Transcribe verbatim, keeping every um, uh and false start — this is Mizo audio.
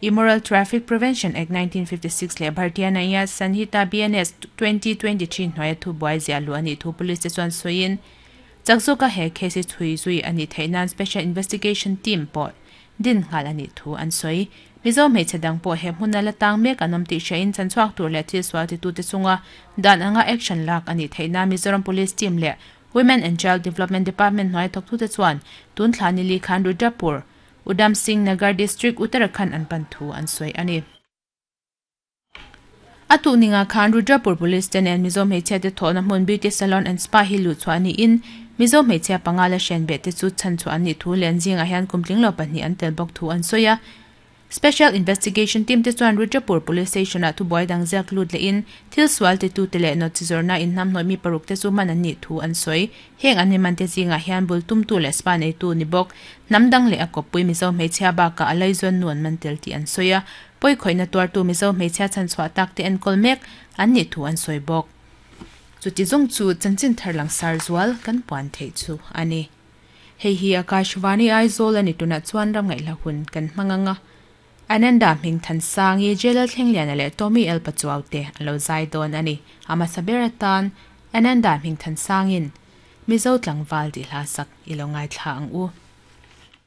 Immoral Traffic Prevention Act nineteen fifty six leh Bharatiya Nyaya Sanhita B N S twenty twenty three hnuaia thu buai ziah luh a nih thu police te chuan sawiin chakzawka he case hi chhui zui a nih theih nan Special Investigation Team pawh din nghal a nih thu an sawi. Mizo hmeichhe dang pawh he hmuna la tang mek an awm tih hriain chanchhuak tur leh thil sual titute chunga dan anga action lak a nih theih nan Mizoram Police Team leh Women and Child Development Department hnuai thawktute chuan tun thla ni li khan Rudrapur, Udham Singh Nagar District, Uttarakhand an pan thu an sawi a ni. A tu ninga khan Rudrapur Police te nen Mizo hmeichhia te thawhna hmun Beauty Salon and Spa hi luh chhuah niin Mizo hmeichhia panga la hrian beh te chu chhan chhuah an nih thu leh an zingah hian kum tling lo pahnih an tel bawk thu an sawi a. Special Investigation Team te chuan Rudrapur Police Station ah thu buai dang ziak lut leh in thil sual ti tu te leh nawt chi zawrhna in hnam hnawih mi paruk te chu man an nih thu an sawi. Heng an mi man te zingah hian bul tum tu leh spa nei tu ni bawk hnam dang leh a kawppui Mizo hmeichhia bakah a laizawn nu an man tel tih an sawi a. Pawi khawihna tuartu Mizo hmeichhia chhan chhuah tak te enkawl mek an nih thu an sawi bawk. Chuti zawng chu chanchin thar lang sar zual kan puan theih chu a ni. Hei hi Akashvani Aizawl a ni tunah chuan ram ngaihla hun kan hmang anga. Ananda Hming Than Sangi Jelal Thlengliana leh Tommy El Pachuau te an lo zai dawn a ni. Ama saber atan Ananda Hming Than Sangin Mizo tlangval ti hla sak i lo ngai thla ang u.